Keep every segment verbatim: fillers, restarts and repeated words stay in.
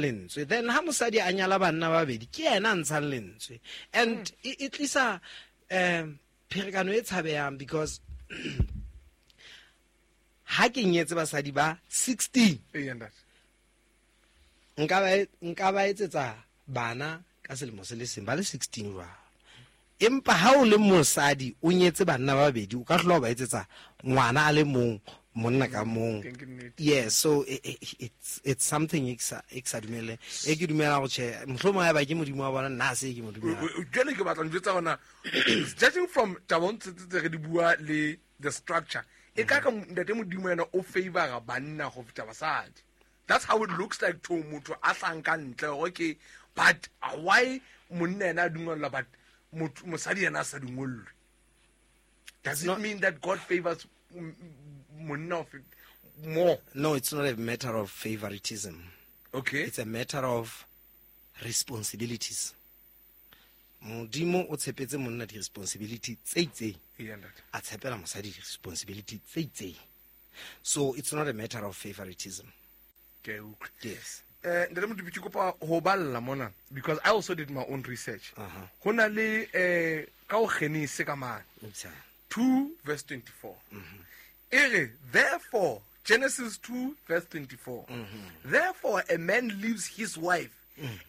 Lentswe. Then ha mosadi a nyala banna ba babedi, ke yena a ntshang lentswe, and e e tlisa um pherekano e tshabehang, because ha ke nyetse basadi ba sixteen, Eya, ntate. nka ba e- nka ba etsetsa bana ka selemo se le seng ba le sixteen jwalo. Empa ha o le mosadi o nyetse banna ba babedi, o ka hlola o ba etsetsa ngwana a le mong, monna ka mong. Teng ke nnete. Yes, so it, it, it's it's something e ke sa e ke sa dumele, e ke dumela go tjhe, mohlomong ha eba ke Modimo wa bona, nna ha se ke mo dumela. Jwale ke batla njwetsa gona, judging from tabong tse tse re di bua le the structure, e ka ka ntate Modimo yena o favora banna go feta basadi. That's how it looks like to motho a hlang ka ntle gore ke, but uh, why monna ena a dungwellwa but motho- mosadi yena a sa dungwellwe? Does it Not- mean that God favors m- m- monna of more? No, it's not a matter of favoritism. Okay it's a matter of responsibilities. Modimo o tshepetse monna di-responsibility tse itseng, Eya, ntate. a tshepela mosadi di-responsibility tse itseng. So it's not a matter of favoritism. Ke a utlwa. Yes. eh ntate Modupi, ke kopa ho balla mona because I also did my own research. Aha. Ho na le eh ka ho Genese ka mane Ntjha. two verse twenty-four, e re, therefore, Genesis two verse twenty-four, "Therefore a man leaves his wife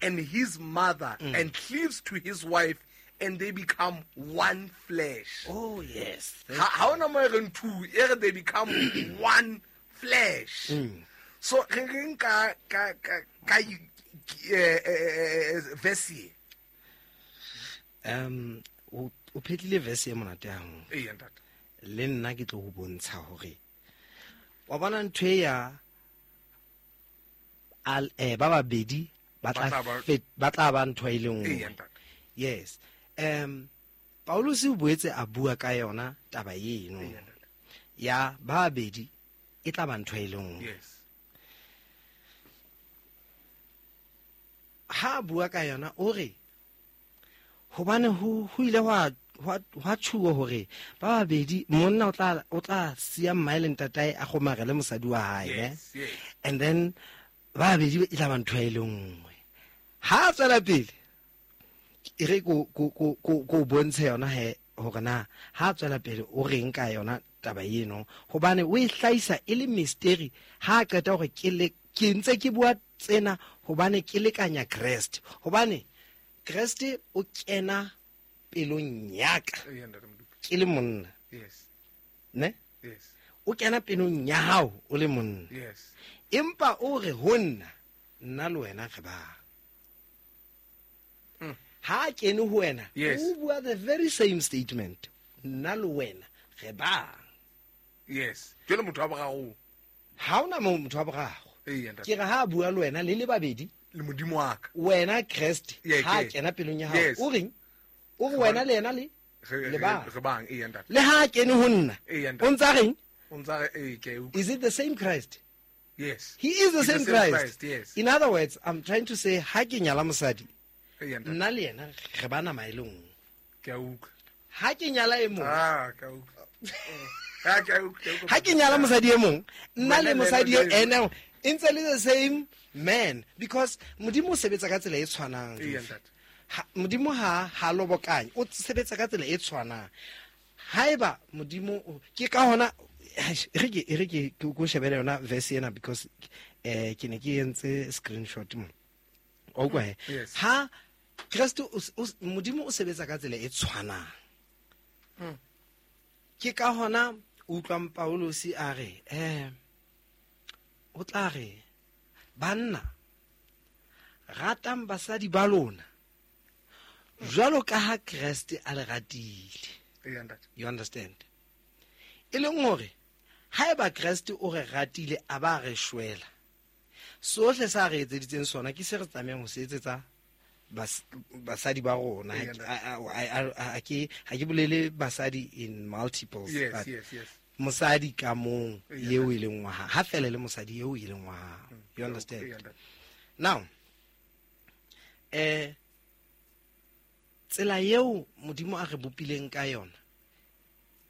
and his mother and cleaves to his wife, and they become one flesh." Oh yes. Ha ha ona mo e reng two, e re they become one flesh. So re reng ka ka ka ka eh, eh, eh, verse e? um o o phetlile verse e monate haholo. Eya, ntate. Le nna ke tlo go bontsha hore wa bona ntho e ya al eh ba babedi ba Ba tla tla ba- fet- ba tla ba ntho e le Eya, nngwe. Ntate. Yes, um Paulus o boetse a bua ka yona taba eno Eya, ntate. ya ba babedi e tla ba ntho e le nngwe. Yes Ha a bua ka yona o re hobane ho ho ile hwa hwa hwa tjhuwa hore ba babedi, monna o tla o tla siya mmae le ntatae, a kgomarele mosadi wa hae, ne? Yes, yes. And then ba babedi e tla ba ntho e le nngwe. Ha a tswela pele, e re ko ko ko ko ko bontshe yona he hore na ha a tswela pele o reng ka yona taba eno, hobane o e hlahisa e le mystery. Ha a qeta hore ke le ke ntse ke bua tsena hobane ke lekanya Kreste, hobane Kreste o kena pelong ya ka Eya, ntate Modupi. ke le monna. Yes ne? Yes. O kena pelong ya hao o le monna. Yes empa o re ho nna, nna le wena re bang. Mm. Ha a kene ho wena, Yes. o bua the very same statement, nna le wena re bang. Yes, jwale motho wa boraro? Ha ona mo motho wa boraro. Eya, ntate. Ke re ha a bua le wena le le babedi, Le Modimo wa ka. Wena Kreste, Yeah, ha a ke- kena pelong ya hao, Yes. o reng? O re wena le yena le Re- le re bang. Re bang, eya, ntate. Le ha a kene ho nna, Eya, ntate. o ntsa reng? O ntsa re ee, ke a utlwa. Is it the same Christ? Yes. He is the He's same Christ. Christ, yes. In other words, I'm trying to say ha ke nyala mosadi, Eya, ntate. nna le yena re ba nama e le nngwe. Ke a utlwa. Ha ke nyala e mong, Ah, ke a utlwa. Ah, ke a utlwa, ke a utlwa. ha ke nyala mosadi e mong, nna Wena le le mosadi yena e ene e ntse le the same man, because Modimo o sebetsa ka tsela e tshwanang. Eya, ntate. Ha- modimo ha ha lobokanye, o sebetsa ka tsela e tshwanang. Haeba Modimo o- ke ka hona e re ke e re ke ke ko shebele yona verse ena, because eh ke ne ke entse screenshot mo o kwa he. Yes. Ha Kreste o s- o s- Modimo o sebetsa ka tsela e tshwanang. Mm. Ke ka hona o utlwang Paulus a re eh o tla re, "Banna, ratang basadi ba lona jwalo ka ha Kreste a le ratile." Eya, ntate. You understand? E leng hore haeba Kreste o re ratile a ba re shwela, sohle sa re etseditseng sona ke se re tlamehang ho se etsetsa bas- basadi ba rona. Eya, Ha ke- a- a- a- a- ke ha ke bolele basadi in multiples, Yes, but yes, yes. mosadi ka mong Eya, eo e leng wa hao, ha fela le mosadi eo e leng wa hao. You understand? Eya, ntate. Now eh tsela eo Modimo a re bopileng ka yona,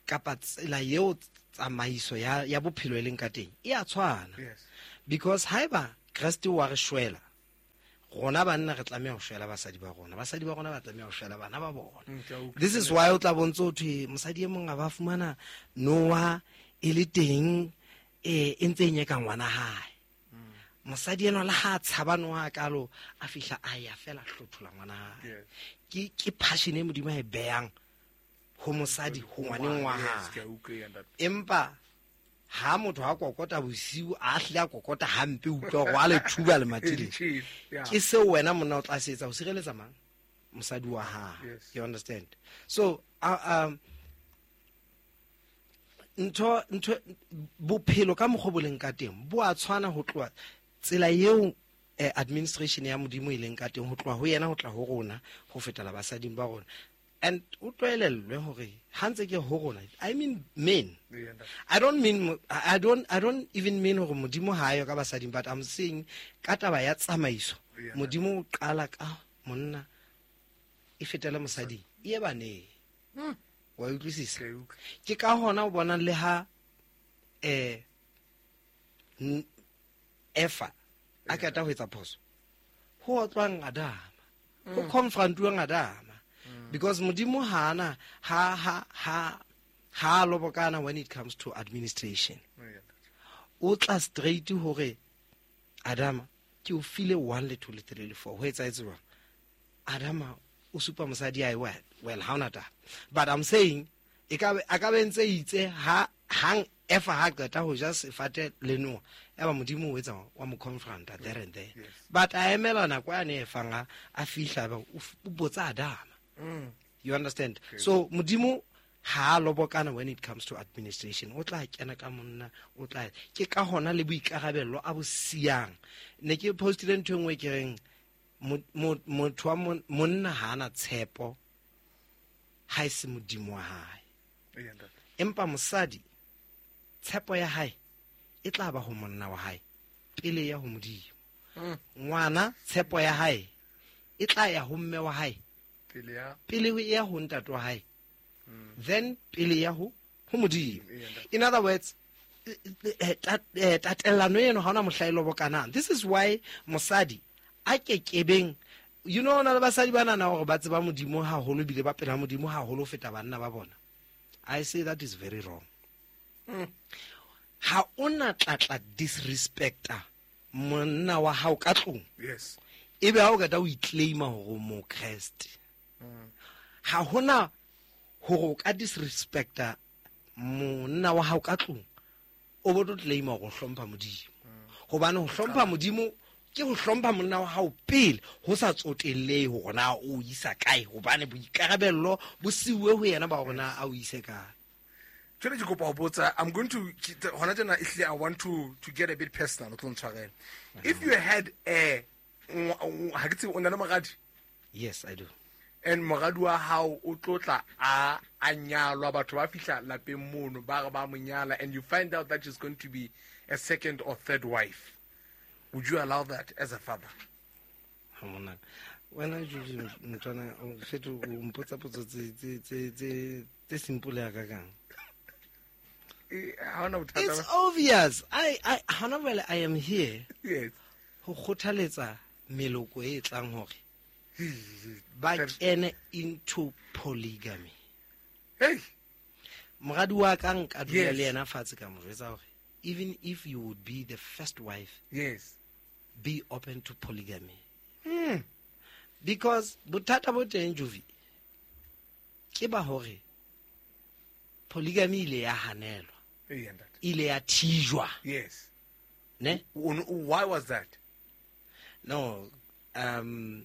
kapa tsela eo tsamaiso ya ya bophelo e leng ka teng, e a tshwana. Yes. Because haeba Kreste wa re shwela Rona banna re tlameha ho shwela basadi ba rona, basadi ba rona ba tlameha ho shwela bana ba bona. Mm, ke a utlwa. This is why o tla bontse ho thwe mosadi e mong a ba fumana noa e le teng, eh, e ntse e nyeka ngwana hae. Mosadi enwa le ha a tshaba noha kalo, a fihla a ya fela a hlothola ngwana hae. Yes. Ke, ke passion e Modimo a e behang ho mosadi ho ngwaneng wa Yes, hae. ke a utlwa ya ntate. Empa ha motho a kokota bosiu, a hlile a kokota hampe, o utlwa hore wa le thuba lemati le. Chief, yeah. Ke seo wena monna o tla se etsa ho sireletsa mang? Mosadi wa hae. Yes. You understand? So, uh, um, ntho, ntho, bophelo ka mokgwa bo leng ka teng bo a tshwana ho tloha tsela eo, eh, administration ya Modimo e leng ka teng, ho tloha ho yena ho tla ho rona, ho fetela basading ba rona. And o tlwaelellwe hore ha ntse ke ho rona, I mean men. Yeah, ntate. I don't mean mo-, I don't, I don't even mean hore Modimo ha ayo ka basading, but I'm saying ka taba ya tsamaiso, Yeah, Modimo o qala ka monna e fetele mosading, e ye baneng. Hmm. Wa utlwisisa? Ke utlwa. Ke ka hona o bonang le ha, eh, n-, Efa a qeta ho etsa phoso, ho otlwang Adama, ho Hmm. confrontuwang Adama. Hmm. Because Modimo ha ana, ha, ha, ha, ha lobokana when it comes to administration. Yeah. O tla straight hore Adama ke o file one le two le three le four, ho etsahetse jwang? Adama o supa mosadi ae, well, well, ha ona taba. But I'm saying e ka be, a ka be ntse itse ha hang Efa ha qeta ho ja sefate le noha, ya ba Modimo o etsa wa mo confronta there and there. Yes. But a emela nako ya ne e fang a, a fihla ba o f-, o botsa Adama. Mm. You understand? Okay. So Modimo ha a lobokana when it comes to administration, o tla kena ka monna, o tla ke ka hona le boikarabello a bo siyang. Ne ke postile ntho e nngwe ke reng, mo-, mo-, motho wa mon-, monna ha ana tshepo ha e se Modimo wa hae. Ee, ntate. Empa mosadi tshepo ya hae e tla ba ho monna wa hae pele ya ho Modimo. Mm. Ngwana tshepo ya hae e tla ya ho mme wa hae pele ya pele ho ya ho ntate wa hae. Mm. Then pele ya ho, ho Modimo. Ee, ntate. In other words, eh, tat-, eh, tatellano eno ha hona mohla e lobokanang. This is why mosadi a kekebeng, you know, na le basadi ba nahana hore ba tseba Modimo haholo ebile ba pela Modimo haholo ho feta banna ba bona. I say that is very wrong. Mm. Ha ona tlatla disrespecta monna wa hao ka tlung. Yes. Ebe ha o qeta o iclaima hore o mokreste. Mm. Ha hona hore o ka disrespecta monna wa hao ka tlung, o bo tlo claima hore o hlompha Modimo. Mm. Hobane ho hlompha Modimo ke ho hlompha monna wa hao pele, ho sa tsotellehe hore na o isa kae, hobane boikarabello bo siuwe ho yena ba hore na a o ise kae. Jwale ke kopa ho botsa, I'm going to, hona tjena ehlile I want to, to get a bit personal, o tlo ntshwarela. If you had a, ha ke tsebe, o na le moradi? Yes, I do. And moradi wa hao o tlo tla a, a nyalwa, batho ba fihla lapeng mono, ba re ba mo nyala, and you find out that she's going to be a second or third wife. Would you allow that as a father? Ha monna. Wena, Julie, mntwana, o fetho, o mpotsa potso tse, tse, tse, tse, tse simple ya ka kang. Eh, ha hona bothata It's ba- obvious. I, I, hona jwale I am here. Yes. Ho kgothaletsa meloko e tlang hore ba kene into polygamy. Hey. Moradi wa ka nka dula Yes. le yena fatshe ka mo jwetsa hore even if you would be the first wife, Yes. be open to polygamy. Hmm. Because bothata bo teng, Jovi, ke ba hore polygamy ile ya hanelwa. Ee, ntate. Ile ya thijwa. Yes. Ne? O, o, why was that? No, um,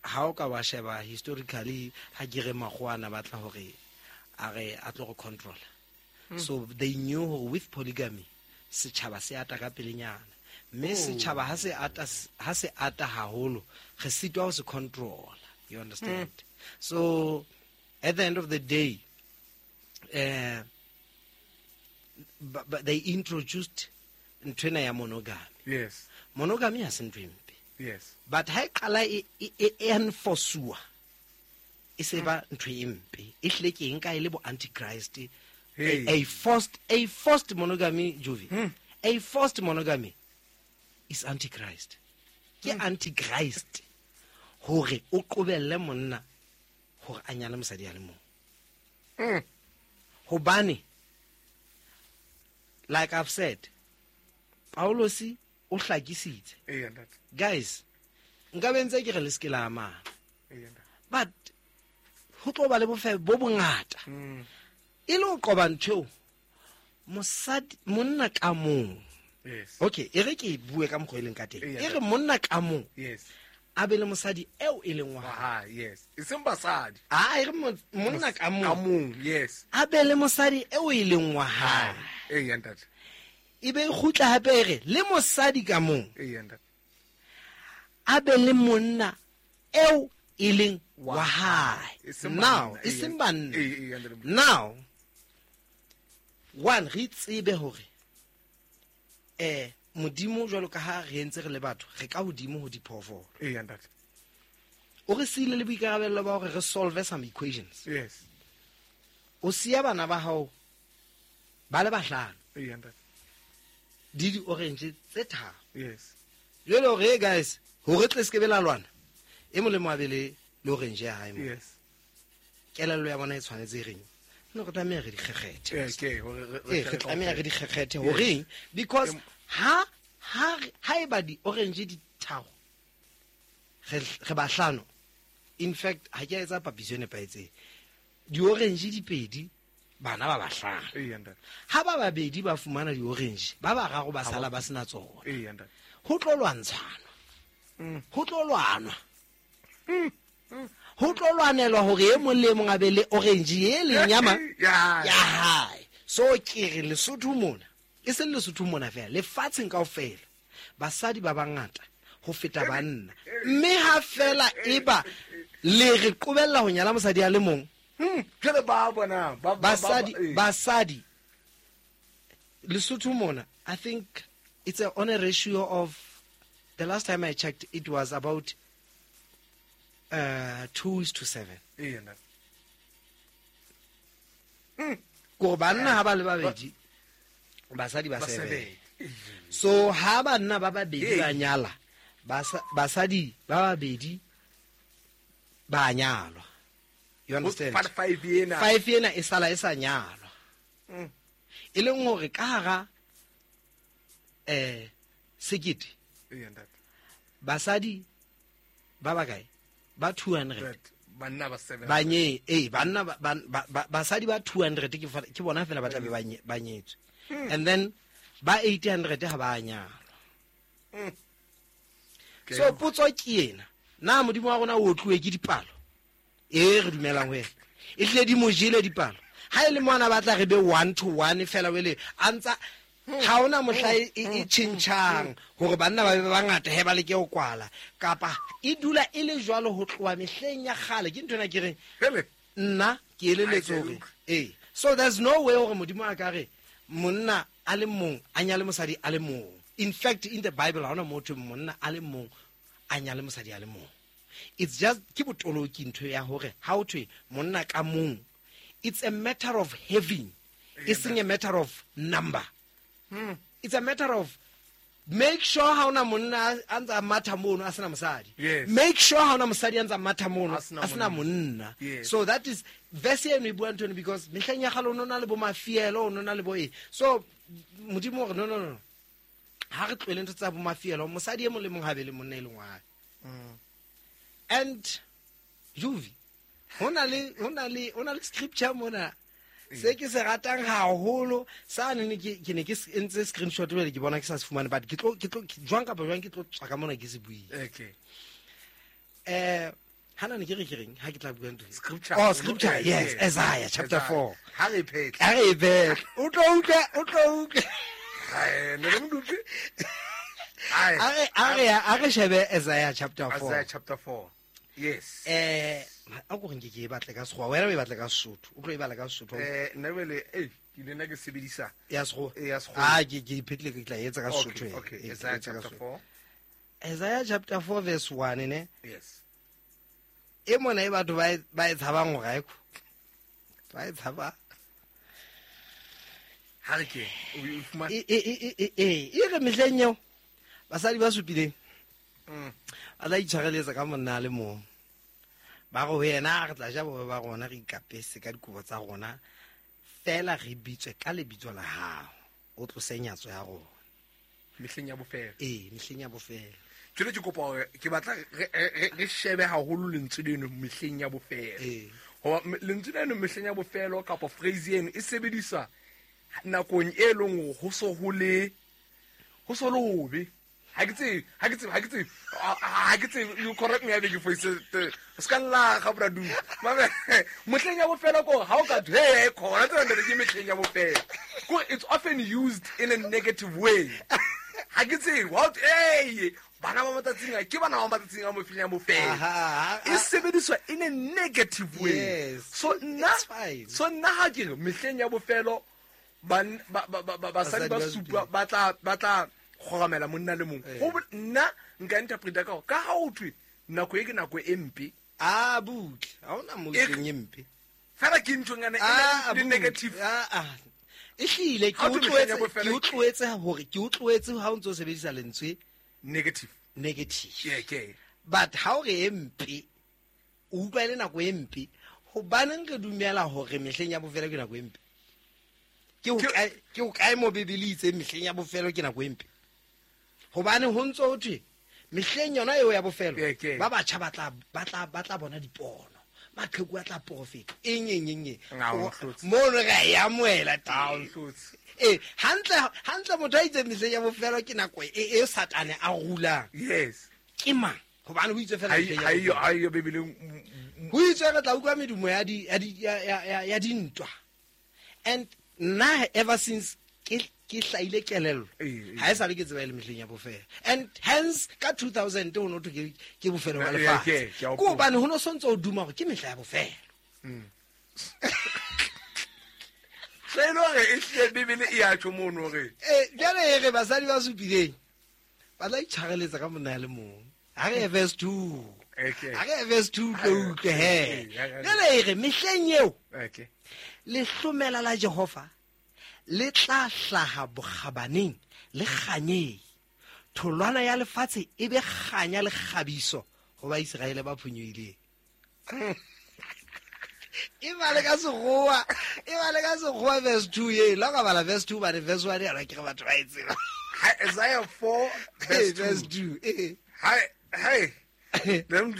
ha o ka wa sheba historically, ha ke re makgowa a na batla hore a re a tlo go control. Hmm. So they knew hore with polygamy setjhaba se ata ka pelenyana. Mme Oh. setjhaba ha se ata, ha se ata haholo, re sitwa ho se control. You understand? Hmm. So at the end of the day, eh, but, but they introduced nthwena ya monogamy. Yes. Monogamy ha se ntho e mpe. Yes. But ha e qala e, e, e, e enforce-uwa, e se ba ntho e mpe. E hlile ke eng ka e le bo antichrist. Hey. A, a forced, a forced monogamy, Jovi. Hmm. A forced monogamy is antichrist. Ke antichrist hore o qobelle monna hore a nyale mosadi a le mong. Mm. Hobane like I've said, Paulosi o hlakisitse. Eya ntate. Guys, nka be ntse ke re le se ke la amana. Eya ntate. But ho tlo ba le bofebe bo bongata. Mm. E le ho qoba ntho eo, mosadi monna ka mong. Yes. Okay, e re ke bue ka mokgwa e leng ka teng. Eya, E re monna ka mong. Yes. A be le mosadi eo e leng wa hae. Wa hae, yes. E seng basadi. Ah, e re mo-, monna ka mong. Ka mong, yes. A be le mosadi eo e leng wa hae. Eya ntate. E be e kgutla hape e re le mosadi ka mong. Eya ntate. A be le monna eo e leng wa Wa hae. E seng Now, banna, e eya. seng banna. Eya, eya, ntate. Now, one, re tsebe hore, eh, Modimo jwalo ka ha re entse re le batho, re ka hodimo ho diphoofolo. Eya ntate. O re siile le boikarabello ba hore re solve some equations. Yes. O siya bana ba hao ba le bahlano. Eya ntate. Di di orange tse tharo. Yes. Jwale hore, hey guys, hore tle se ke be la lwana, e molemo a be le, le orange ya hae mo. Yes. Kelello ya bona e tshwanetse e reng? No, re tlameha re di kgekgethe. Eh, ke, hore re, re Eh, re tlameha re di kgekgethe. Yes. Horeng? Because Em- ha, ha, ha eba di orange di tharo, re, re bahlano. In fact, ha ke a etsa papiso e nepahetseng. Di orange di pedi, bana ba bahlano. Eya ntate. Ha ba babedi ba fumana di orange, ba bararo ba Ha ba sala ba sena tsona. Eya ntate. Ho tlo lwantshana. Mm. Ho tlo lwanwa. Mm. Mm. Ho tlo lwanelwa hore e mong le e mong a be le orange e leng ya ma- Ya. ya hae. So ke re Lesotho mona, e seng Lesotho mona fela, lefatsheng kaofela, basadi ba bangata ho feta banna. Mme ha fela eba le re qobella ho nyala mosadi a le mong, Hmm, jwale ba bona, ba, ba, ba, basadi, ba, eh. basadi Lesotho mona, I think it's a, on a ratio of, the last time I checked, it was about, uh, two is to seven. Eya, ntate. Hmm. Kore banna ha ba le babedi, basadi ba Ba seven. seven. So ha banna ba babedi ba Ee. nyala, basa-, basadi ba babedi ba nyalwa. You understand? Part five ena. Five ena e sala e sa nyalwa. Mm. E leng hore ka hara, eh, sekete, Eya, ntate. basadi ba bakae? Ba two hundred. Right. Banna ba seven. Ba nye-, eh, banna ba, ba, ba, ba, basadi ba two hundred ke fa-, ke bona fela ba tla be ba nye-, ba nyetswe. Hmm. And then ba eight hundred ha ba nyalwa. Hmm. So potso ke ena, na Modimo wa rona o otluwe ke dipalo? E re dumelang ho yena. E hlile di mo jele dipalo. Ha e le mona ba tla re be one to one fela wele, a ntsa ha hona mohla e, e, e tjhentjhang hore banna ba be bangata he ba leke ho kwala, kapa e dula e le jwalo ho tloha mehleng ya kgale. Ke nthwena ke reng, Hele. nna ke eleletse Ai, hore, utlwe. ee. So there's no way hore Modimo a ka re monna a le mong a nyale mosadi a le mong. In fact, in the Bible ha hona motho monna a le mong a nyale mosadi a le mong. It's just ke botoloki ntho ya hore ha ho thwe monna ka mong, it's a matter of having, e seng a matter of number. Hmm. It's a matter of make sure ha ona monna a ntsa matha mono a sena mosadi. Yes. Make sure ha ona mosadi a ntsa matha mono A sena a sena monna. monna. Yes. So that is verse eno e bua ntho eno, because mehleng ya kgale o no na le bo mafielo, o no na le bo eng. So Modimo o re no, no, no. Ha re tlohele ntho tsa bo mafielo, mosadi e mong le mong ha be le monna e leng wa hae. Mm. And Juvi, ho na le, ho na le, ho na le scripture mona se ke se ratang haholo, sa ne ne ke, ke ne ke entse screenshot jwale ke bona ke sa se fumane, but ke tlo, ke tlo, ke, jwang kapa jwang ke tlo tswa ka mona ke se buile. Okay. Eh, hana ne ke re ke reng ha ke tla bua ntho e? Scripture. Oh, scripture, yes, Yes. Isaiah chapter Isaiah. four. Ha re phetle. Ha re phetle. O tlo utlwa, o tlo utlwa. Ai, ne re mo utlwe. Ai. A re, a re, a re shebe Isaiah chapter four. Isaiah chapter four. Yes. Eh, a ko re nke ke e batle ka Sekgowa, wena o e batle ka Sesotho, o tlo e bala ka Sesotho. Eh, nna jwale, eh, ke ile nna ke sebedisa Ya Sekgowa? Eh, ya Sekgowa. Ah, ke, ke iphetlile, ke tla e etsa ka Okay, Sesotho, eh. okay, Eh, ke Isaiah etsa ka chapter Sesotho. four. Isaiah chapter four verse one, ne? Yes. E mona e batho ba e, ba e tshabang hore ha e ko. Ba e tshaba. Ha re ke, o e fumane? E, e, e, e, e, e, e re mehleng eo, basadi ba supileng Ba tla itshwareletsa ka monna a le mong. Ba re ho yena re tla ja bohobe ba rona re ikapese ka dikobo tsa rona fela re bitswe ka lebitso la hao. O tlose nyatso ya rona. Mehleng ya bofelo. Ee, mehleng ya bofelo. Jwale ke kopa hore ke batla re shebe haholo lentswe leno mehleng ya bofelo. Ee. Hoba lentswe leno mehleng ya bofelo kapa phrase eno e sebediswa nakong e leng hore ho so ho le ho so le hobe. Ha ke tsebe, ha ke tsebe, ha ke tsebe, ha ke tsebe, you correct me ha ke foise, o ska lla ga bra du. Mame, mehleng ya bofelo ko ha o ka thwe, hey, khona tsena ntate ke mehleng ya bofelo. Ko it's often used in a negative way. Ha ke tsebe, what, hey, bana ba matsatsing a, ke bana ba matsatsing a mehleng ya bofelo. E sebediswa in a negative way. Yes. So nna, so nna ha ke re mehleng ya bofelo ban ba ba ba basadi ba supa ba tla ba tla kgoramela monna le mong. Go nna nka interpreta ka ka ha o thwe nako e ke nako e mpe. A butle, ha ona mo tleng e mpe. Fela ke nthonyana e le negative. Ah ah. E hlile ke utlwetse ke utlwetse hore ke utlwetse ha o ntso sebedisa lentswe negative. Negative. Yeah, okay. But ha o re e mpe, o utlwa le nako e mpe, hobaneng re dumela hore mehleng ya bofelo ke nako e mpe? Ke o kae ke o kae mo Bibele itse mehleng ya bofelo ke nako e mpe? Hobane ho ntso ho thwe mehleng yona eo ya bofelo ba batjha ba tla ba tla ba tla bona dipono, maqheku a tla profeta eng eng eng eng mono re ya amohela teng. Eh, hantle hantle motho a itse mehleng ya bofelo ke nako e e Satane a rulang. Yes. Ke mang? Hobane ho itse fela mehleng ya bofelo. Ha iyo Bibele ho itse re tla utlwa medumo ya di ya di ya ya dintwa. And nna ever since ke ke hlaile kelello ha e sale ke tseba le mehleng ya bofelo. And hence ka two thousand o no thwe ke ke bofelo ba lefatshe. Ke hobane ho no sontse o duma hore ke mehla ya bofelo. Se no re e hle Bibele e ya tjho mono re. Eh, jwale e re basadi ba supileng ba tla itshwareletsa ka monna le mong. Ha re verse two. Okay. Ha re verse two tlo utlwe he. Jwale e re mehleng eo. Okay. Lehlomela la Jehova le tla hlaha bokgabaneng le kganyeng. Tholwana ya lefatshe e be kganya le kgabiso ho ba Iseraele ba phonyohileng. E bale ka sekgowa, e bale ka sekgowa verse two ye. La ka bala verse two ba re verse one ya ke re batho ba e tseba. Isaiah four verse two. Eh. Hi, hey. Then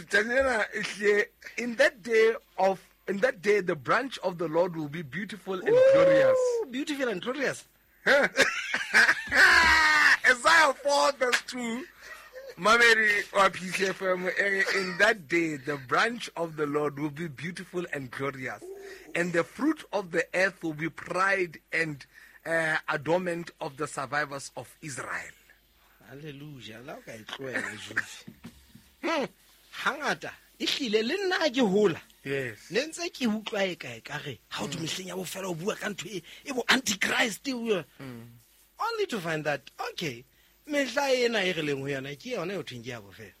in that day of In that day, the branch of the Lord will be beautiful and Ooh, glorious. Beautiful and glorious. Isaiah four verse two. Mamedi wa P C F M, in that day, the branch of the Lord will be beautiful and glorious, and the fruit of the earth will be pride and uh, adornment of the survivors of Israel. Hallelujah. La ka e tlohela Jufi. Hangata e hlile le nna ke hola. Yes. Ne ntse ke utlwa e kae ka re ha o mehleng ya bofelo o bua ka ntho e e bo antichrist. Only to find that okay, mehla ena e re leng ho yona ke yona e thweng ke ya bofelo.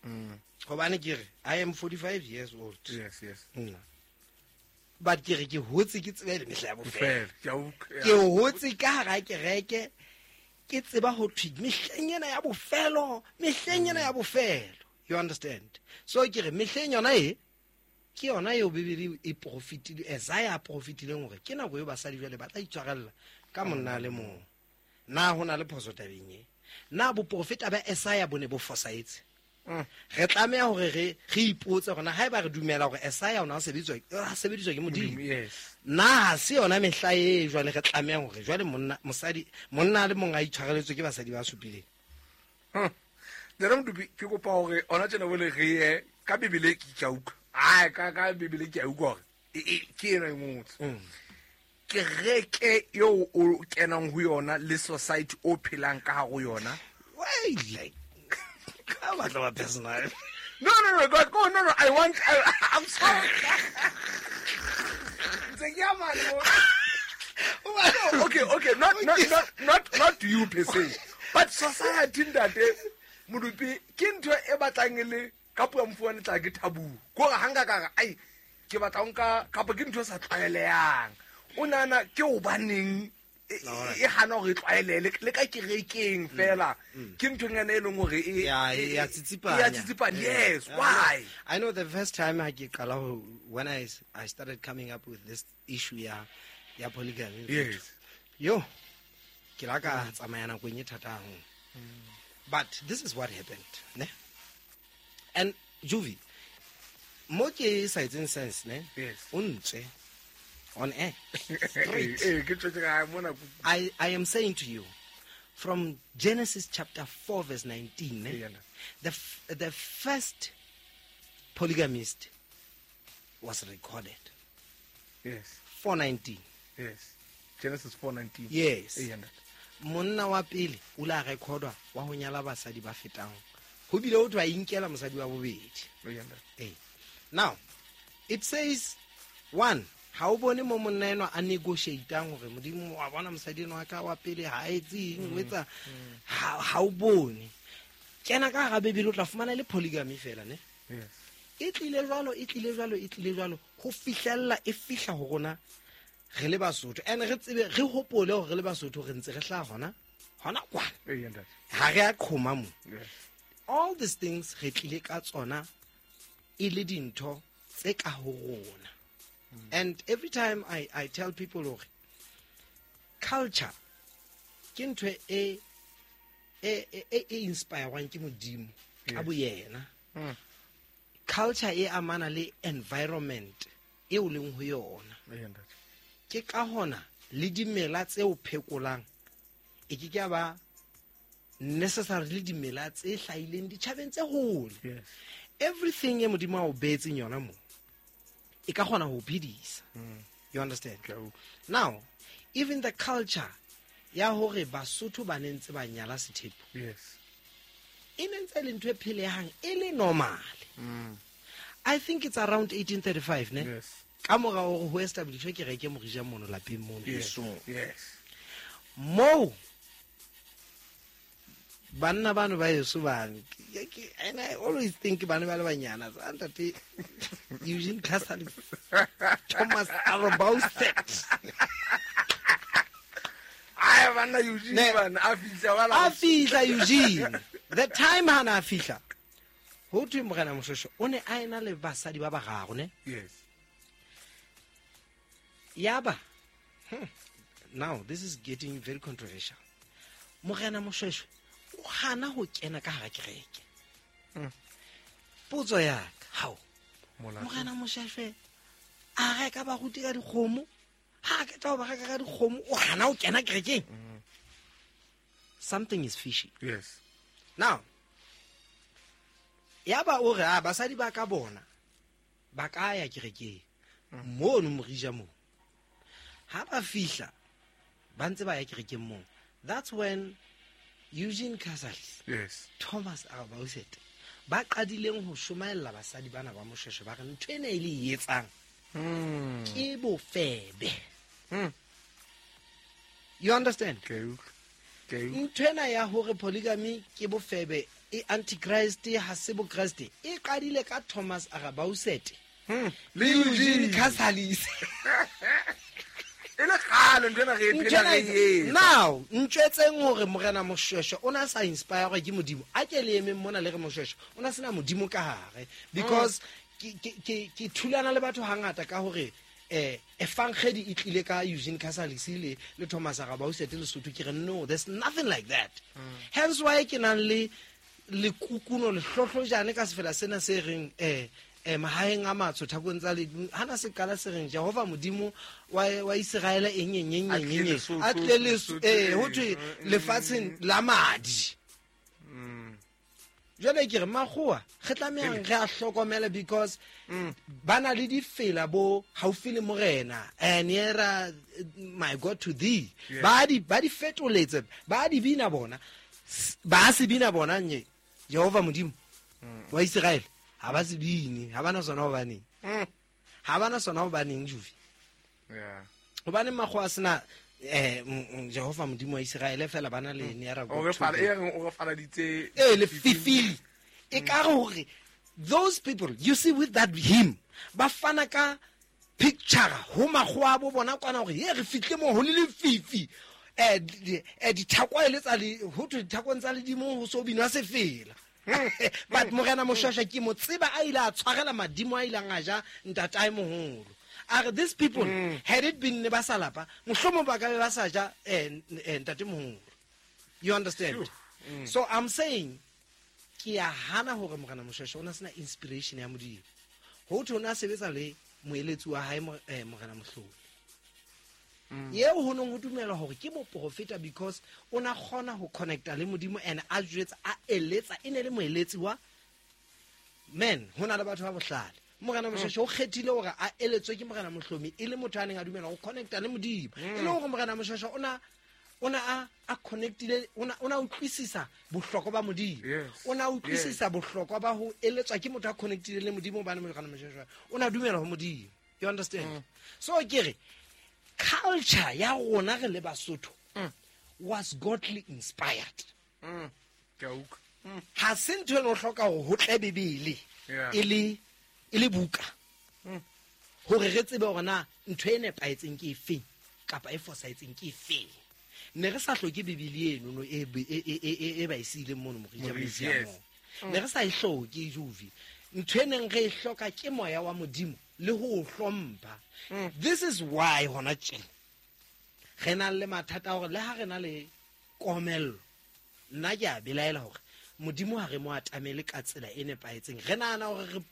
Mm. Hobane ke re I am forty-five years old. Yes, yes. Nna. But ke re ke hotse ke tsebe le mehla ya bofelo. Ke Ke hotse ka hara kereke ke tseba ho thwe mehleng ena ya bofelo, mehleng ena ya bofelo. You understand? So ke re mehleng yona e ke yona eo Bibele e profitile, Isaiah a profitileng hore ke nako eo basadi jwale ba tla itshwarella ka monna le mong. Na ho na le phoso tabeng e? Na boprofeta ba Isaiah bo ne bo fosahetse? Re tlameha hore re re ipotse hore na haeba re dumela hore Isaiah o na sebediswa a sebediswa ke Modimo. Yes. Na ha se yona mehla e jwale re tlameha hore jwale monna mosadi monna le mong a itshwareletswe ke basadi ba supileng. Nna Modupi ke kopa hore ona tjena bole re ye ka Bibele ke ke a utlwa. Ai ka ka Bibele ke a utlwa hore e ke ena e ngotswe. Kereke eo o kenang ho yona le society o phelang ka hare ho yona. Why like ka batla ba personal. No no no God go no no I want I, I'm sorry. Tse ya man. Okay okay not not not not not you per se but society ntate Modupi ke ntho e batlang le ka puo mfuane tla ke taboo. Ko re hanga ka re ai ke batla nka kapa ke ntho e sa tlwaelehang. O nana ke hobaneng e hana hore e tlwaelele le ka kerekeng fela ke nthonyana e leng hore e ya tsitsipanya ya tsitsipanya. Yes, why? I know the first time I ke qala when I I started coming up with this issue ya ya polygamy. Yes. Yo ke la ka tsamaya nakong e thata haholo. But this is what happened, ne? And Juvi mo ke sa etseng sense, ne? Yes. O ntse on air. Straight. I, I am saying to you, from Genesis chapter four verse nineteen, eh, the, f- the first polygamist was recorded. Yes. four nineteen. Yes. Genesis four nineteen. Yes. Monna wa pele o la recordwa wa ho nyala basadi ba fetang. Ho bile ho thwa inkela mosadi wa bobedi. Eh. Now, it says, one, ha o bone mo monna enwa a negotiatang hore modimo wa bona mosadi enwa ka wa pele ha etse eng o etsa ha o bone kena ka hara Bibele o tla fumana le polygamy fela, ne? Yes. E tlile jwalo e tlile jwalo e tlile jwalo ho fihlella e fihla ho rona re le Basotho and re tsebe re hopole hore re le Basotho re ntse re hlaha hona hona kwana ha re a qhoma mo. All these things re tlile ka tsona e le dintho tse ka ho rona. And every time I, I tell people hore culture ke ntho e e e e inspirewang ke modimo ka boyena. Culture e amana le environment e o leng ho yona. Ke ka hona le dimela tse o phekolang e ke ke ba necessarily dimela tse hlahileng ditjhabeng tse hole. Everything e modimo a o beetseng yona mo e ka kgona ho phedisa. You understand? Now, even the culture ya hore Basotho ba ne ntse ba nyala sethepu. Yes. E ne ntse le ntho e phelehang e le normal. Mm. I think it's around eighteen thirty-five, ne? Yes. Ka mora hore ho establish kereke Morija mono lapeng mono. Yes. Yes. Mo banna bano ba yeso bane, and I always think bana ba le banyana ntate Eugene Casalis, Thomas Arabauset. Ai banna Eugene bana a fihla wala a fihla Eugene. The time hana a fihla ho thwe morena Moshweshwe o ne a ena le basadi ba bararo, ne? Yes. Yaba hmm. Now this is getting very controversial. Morena Moshweshwe o hana ho kena ka hara kereke. Potso ya ka, hao morena Moshweshwe a reka baruti ka dikgomo, ha ke tla ba reka ka dikgomo o hana ho kena kerekeng. Something is fishy. Yes. Now yaba o re a basadi ba ka bona ba ka ya kerekeng mono Morija mo. Ha ba fihla ba ntse ba ya kerekeng mo. That's when Eugene Casalis, yes, Thomas Arabauset ba qadileng ho shomaella basadi bana ba Moshweshwe ba re ntho ena e le etsang ke bofebe. You understand? Okay. Okay. Ntho ena ya hore polygamy ke bofebe e antichrist ha se bo Christ e qadile ka Thomas Arabauset le Eugene Casalis. E le kgale ntho ena re e phela re e etsa. Now ntjwetseng hore morena Moshweshwe o na sa inspire ke modimo a ke le emeng mona le re Moshweshwe o na sena modimo ka hare because ke ke ke thulana le batho hangata ka hore eh evangelii e tlile ka Eugene Casalis le le Thomas Arabauset le Sotho ke re no, there's nothing like that. Mm. Hence why ke nang le le kukuno le hlohlojane ka sefela sena se reng eh eh mahaeng a matsho thakong tsa le hana se qala se reng Jehova modimo wa wa Israel eng eng eng eng eng a tle le eh ho thwe lefatsheng la madi. Jwale ke re makgowa re tlamehang re a hlokomela because ba na le difela bo haufi le morena and nearer my God to thee. Ba di ba di fetoletse ba di bina bona ba se bina bona nye Jehova modimo wa Israel ha ba se bine ha bana sona hobaneng ha bana sona hobaneng Juvi. Yeah. Hobane makgowa sena eh Jehova modimo wa Israel fela bana le nearer God. O re fala e reng o re faladitse eh le fifili e ka hore those people you see with that hymn ba fana ka picture ho makgowa bo bona kwana hore ye re fihle mo ho le lefifi Eh dithako e le tsa le ho thwe dithakong tsa ledimo ho so binwa sefela. But Morena Moshweshwe ke mo tseba a ile a tshwarela madimo a ileng a ja ntatae moholo. Are these people mm. had it been ne ba sa lapa mohlomong ba ka be ba sa ja eh ntate moholo. You understand? Sure. Mm. So I'm saying ke a hana hore Morena Moshweshwe o na sena inspiration ya Modimo. Ho thwe o na sebetsa le moeletsi wa hae Morena Mohloli. Yeo ho nong ho dumela hore ke moprofeta because o na kgona ho connecta le Modimo and a jwetsa a eletsa e ne le moeletsi wa men ho na le batho ba bohlale. Morena Moshweshwe o kgethile hore a eletswe ke Morena Mohlomi e le motho a neng a dumela ho connecta le Modimo. E le hore Morena Moshweshwe o na o na a a connectile o na o na utlwisisa bohlokwa ba Modimo. O na utlwisisa bohlokwa ba ho eletswa ke motho a connectile le Modimo hobane Morena Moshweshwe o na dumela ho Modimo. You understand? Mm. So ke re culture ya rona re le Basotho mm. was godly inspired. Mm. Ke a utlwa. Mm. Ha se ntho e no hloka hore ho tle Bibele e le e le buka. Mm. Hore re tsebe hore na ntho e nepahetseng ke efeng kapa e fosahetseng ke efeng. Ne re sa hloke Bibele eno no e e e e ba e siileng mono Morija Museum. Ne re sa e hloke Juvi. Ntho e neng re e hloka ke moya wa Modimo le ho hlompha. This is why hona tjena re na le mathata hore le ha re na le komello nna ke a belaela hore Modimo ha re mo atamele ka tsela e nepahetseng. Re nahana hore re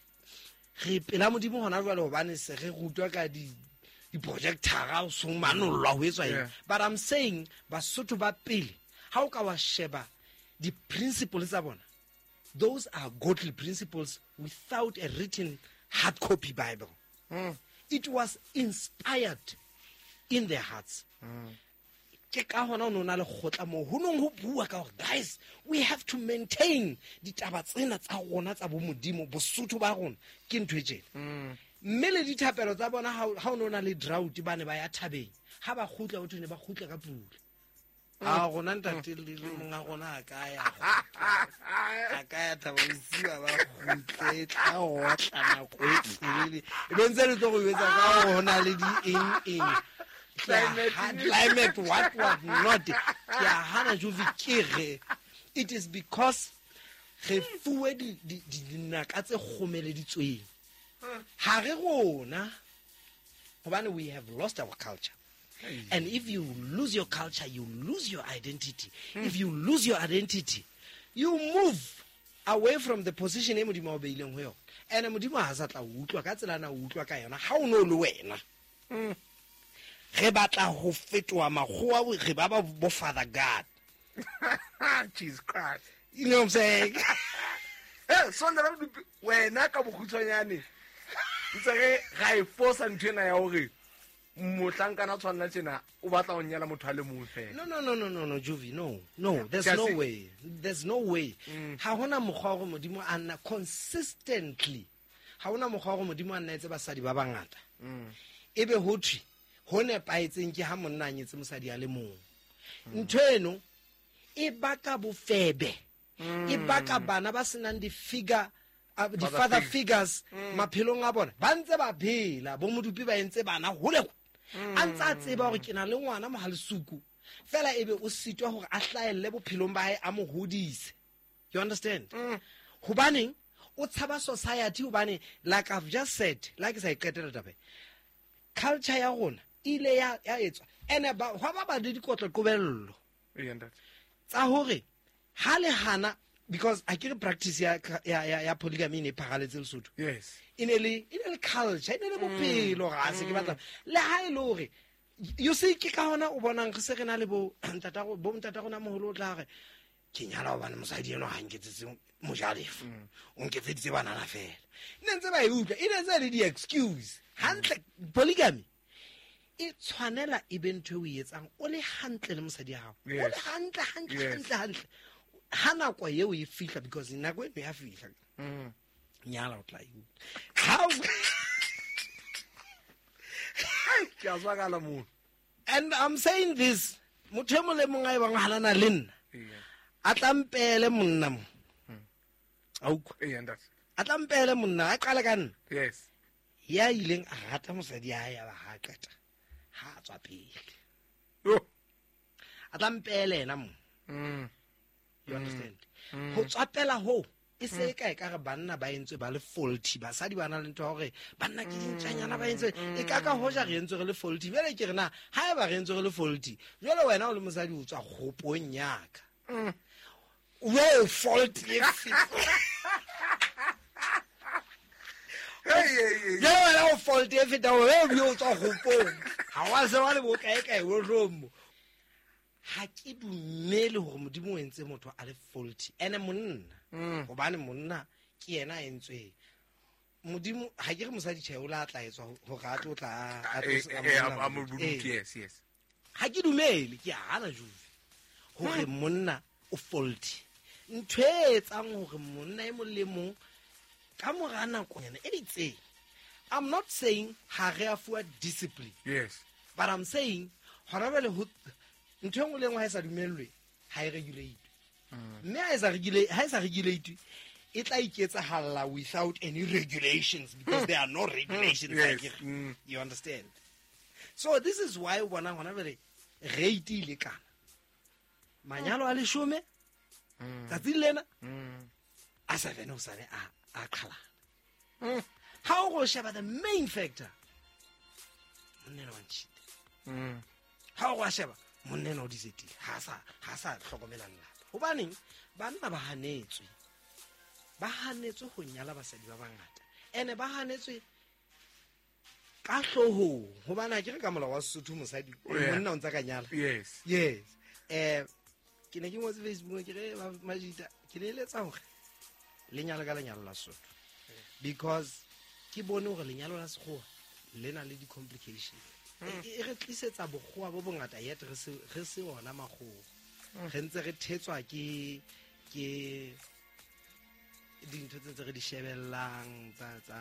re pela Modimo hona jwale hobane se re rutwa ka di di projector o so manollwa ho etswa eng. But I'm saying Basotho ba pele ha o ka wa sheba di principles tsa bona, those are godly principles without a written hard copy Bible. Mm. It was inspired in their hearts. Mm. Ke ka hona o nona le kgotla moo ho nong ho bua ka hore guys we have to maintain ditaba tsena tsa rona tsa bo Modimo Bosotho ba rona ke ntho e tjena. Mm. Mme le dithapelo tsa bona ha o nona le drought ba ne ba ya thabeng ha ba kgutla ho thwe ne ba kgutla ka pula. A rona ntate le monga rona a ka ya a ka ya thaba bosiu ba kgutle tla otla nako e telele e be ntse le tlo go etsa ka hore ho na le di eng eng Climate, climate what what not. Ke a hana Juvi ke re it is because re fuwe di dinaka tse kgomeleditsweng ha re rona hobane we have lost our culture. And if you lose your culture, you lose your identity. Mm. If you lose your identity, you move away from the position e Modimo o beileng ho yona. And Modimo ha sa tla utlwa ka tsela na utlwa ka yona ha o no le wena. Mm. Re batla ho fetoha makgowa re ba ba bo Father God. Jesus Christ. You know what I'm saying? Eh, so nna wena ka bokgutshwanyane ntse re ga e fosa ntho ena ya hore mohlankana tshwanela tjena o batla ho nyala motho a le mong fela. No no no no no no Juvi, no. No, there's no way. There's no way. Ha hona mokgwa hore Modimo a nna consistently. Ha hona mokgwa hore Modimo a nna etse basadi ba bangata. Ebe ho thwe ho nepahetseng ke ha monna a nyetse mosadi a le mong. Ntho eno e baka bofebe. E baka bana ba senang di figure di father figures maphelong a bona. Ba ntse ba phela bo modupi ba entse bana hole. A ntse a tseba hore ke na le ngwana mohalisuku fela ebe o sitwa hore a hlahelle bophelong ba hae a mo hodise. You understand? Hobaneng o tshaba society hobane like I've just said, like sa iqetela taba. Culture ya rona ile ya ya etswa ene ba hwa ba ba le dikotlo qobello tsa hore ha le hana because I ke practice ya ya ya polygamy ne pharaletse Lesotho. Yes. E ne le e ne le culture, e ne le bophelo ga se ke batla le ha e le hore you see ke ka hona o bonang re se re na le bo ntata bo ntata rona moholo o tla re ke nyala hobane mosadi eno ha nketsetse mojalefa o nketseditse banana fela ne ntse ba e utlwa e ne ntse le di excuse hantle polygamy e tshwanela e be ntho e o e etsang o le hantle le mosadi ya hao o le hantle hantle hantle hantle ha nako eo e fihla because nako eno ya fihla nyala o tla e utlwa ke a zwakala mo. And I'm saying this motho e mong le mong a e bang halana le nna a tlampele monna mo a utlwa a tlampele monna a qale ka nna yes ya ileng a rata mosadi ya hae ya ba ha qeta ha tswa pele. Yo. A tla mpele yena mo. Mm. You understand? Ho tswapela ho e se ka e ka re banna ba entswe ba le faulty, basadi ba na le ntho ya hore banna ke dintjanyana ba entswe e ka ka hoja re entswe re le faulty. Jwale ke re na ha eba re entswe re le faulty, jwale wena o le mosadi o tswa kgopong ya ka. O faulty e feta. Hey, hey, hey. Jwale wena o faulty e feta o o tswa kgopong. Ha wa se wa le bokae kae o romo. Ha ke dumele hore Modimo o entse motho a le faulty. Ene monna hobane monna ke yena a entsweng. Modimo ha ke re mosadi tjhe o la tla etswa hore a tlo tla a tlo yes yes. Ha ke dumele ke hana juve hore monna o faulty. Ntho e etsang hore monna e mong le mong ka mora nakonyana e itseng. I'm not saying ha re a fuwa discipline. Yes. But I'm saying hona jwale ho ntho e nngwe le nngwe ha e sa dumellwe ha e regulate. Mme ha e sa regulate, ha e sa regulate e tla iketsahalla without any regulations because there are no regulations. Yes. Like, mm. You understand? So this is why bona hona jwale rate e lekana. Manyalo a leshome tsatsing lena a seven o sane a a qhalana. Ha o go sheba the main factor monna ena wa ntjhita. Ha o go sheba monna ena o disetile ha sa ha sa hlokomela lelapa. Hobaneng banna ba hanetswe. Ba hanetswe ho nyala basadi ba bangata. Ene ba hanetswe ka hloohong hobane ha ke re ka molao wa Sesotho mosadi monna o ntsa ka nyala. Yes. Yes. Eh ke ne ke ngotse Facebook ke re majita ke le eletsa hore lenyalo ka lenyalo la Sesotho. Because ke bone hore lenyalo la Sekgowa le na le di-complications. E re tlisetsa bokgowa bo bongata yet re se re se ona makgowa. Re ntse re thetswa ke ke dintho tse ntse re di shebellang tsa tsa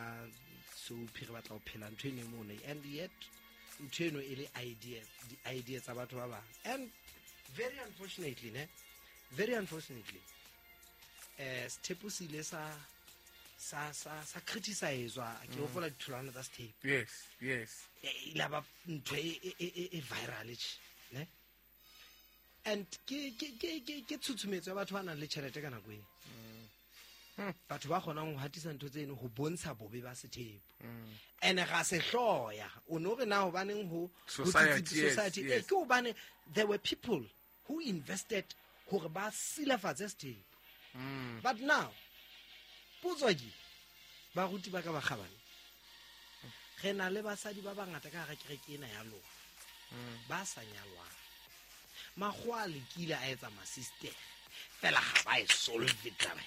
soapy re batla ho phela ntho eno mono and yet ntho eno e le idea di idea tsa batho ba bang. And very unfortunately ne very unfortunately eh sethepu se ile sa sa sa sa criticizewa ke hopola ditholwana tsa sethepu. Yes, yes. E ile ba ntho e e e viral ne. And ke ke ke ke ke tshutshumetso ya batho ba nang le tjhelete ka nako eo. Batho ba kgonang ho hatisa ntho tseno ho bontsha bobe ba sethepu. Ene ga se hloya o no re na hobaneng ho society society yes. Ke hobane there were people who invested hore ba silafatse sethepu. But now potso ke baruti ba ka ba kgabane re na le basadi ba bangata ka hara kereke ena ya lona ba sa nyalwang. Makgowa a lekile a etsa masistere fela ga ba e solve taba.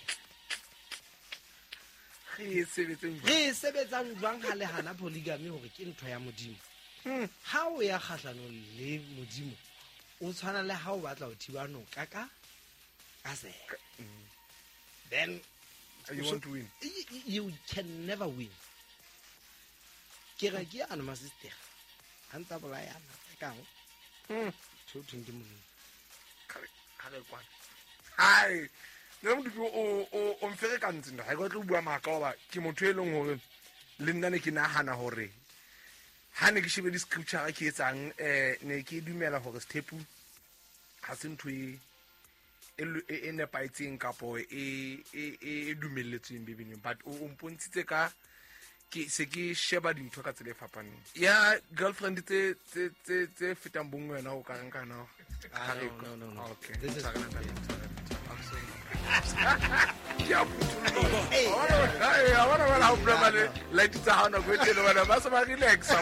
Re e sebetseng jwang? Re e sebetsang jwang ha le hana polygamy hore ke ntho ya Modimo? Ha o ya kgahlanong le Modimo o tshwana le ha o batla ho thiba noka ka ka sele. Then you want to win. You can never win. Ke re ke ana masistere ha ntsa bolayana ka kang. Tho thong ke Modimo. Ha re kwana. Hai. Nna Modupi o o o mferekantse nna ha ke tlo bua maka hoba ke motho e leng hore le nna ne ke nahana hore ha ne ke shebe di-scripture ke etsang eh ne ke dumela hore sethepu ha se ntho e e nepahetseng kapo e e e dumelletsweng Bibeleng, but o mpontshitse ka ke se ke sheba dintho ka tsela e fapaneng. Ya girlfriend tse tse tse tse fetang bongwe wena o ka reng ka na? Ah, no, no, no. Okay. This is ke a phuthuloha. Hey, I wanna ha o problema le light tsa hao nako e telele bana ba se ba relaxa.